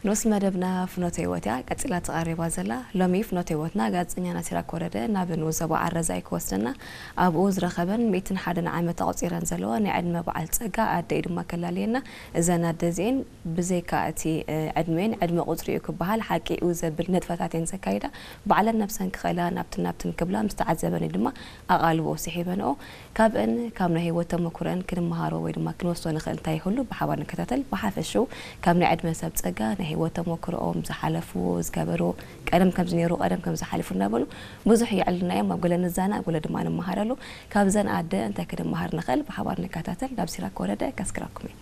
ንኡስ መደብና ፍኖተ ህይወት እያ ቀጺላ ተቓሪባ ዘላ። ሎሚ ፍኖተ ህይወትና ጋዜጠኛና ሲራክ ወረደ ናብ ንኡስ ዞባ ኣረዛይ ክወስደና ኣብኡ ዝረኸበን ሚእትን ሓደን ዓመት ኣቑጺረን ዘለዋ ናይ ዕድመ በዓል ጸጋ ኣደ እዩ ድማ ከላልየና። እዘን ኣደ እዚኤን ብዘይካ እቲ ዕድሜን ዕድመ ቁጽሪ እዩ ክበሃል ሓቂ እዩ ዘብል ንጥፈታት እየን ዘካይዳ። ባዕለን ነብሰን ክኸላ ናብትን ናብትን ክብላ ምስ ተዓዘበን እዩ ድማ ኣቓልቦ ስሒበንኦ። ካብእን ካብ ናይ ህይወት ተመኩረን ክንመሃሮ ወይ ድማ ክንወስዶ ንኽእል እንታይ ይህሉ ብሓባር ንከታተል። ብሓፈሽኡ ካብ ናይ ዕድመ ሰብ ጸጋ ናይ ህይወት ተመኩርኦም ዝሓለፍዎ ዝገበርዎ ቀደም ከምዚ ነይሩ ቀደም ከምዚ ሓሊፉ እናበሉ ብዙሕ የዕልና እዮም። ኣብ ገለ ንዛና ኣብ ገለ ድማ ንመሃረሉ። ካብዘን ኣደ እንታይ ክንመሃር ንኽእል ብሓባር ንከታተል። ናብ ሲራክ ወረደ ከስክረኩም እየ።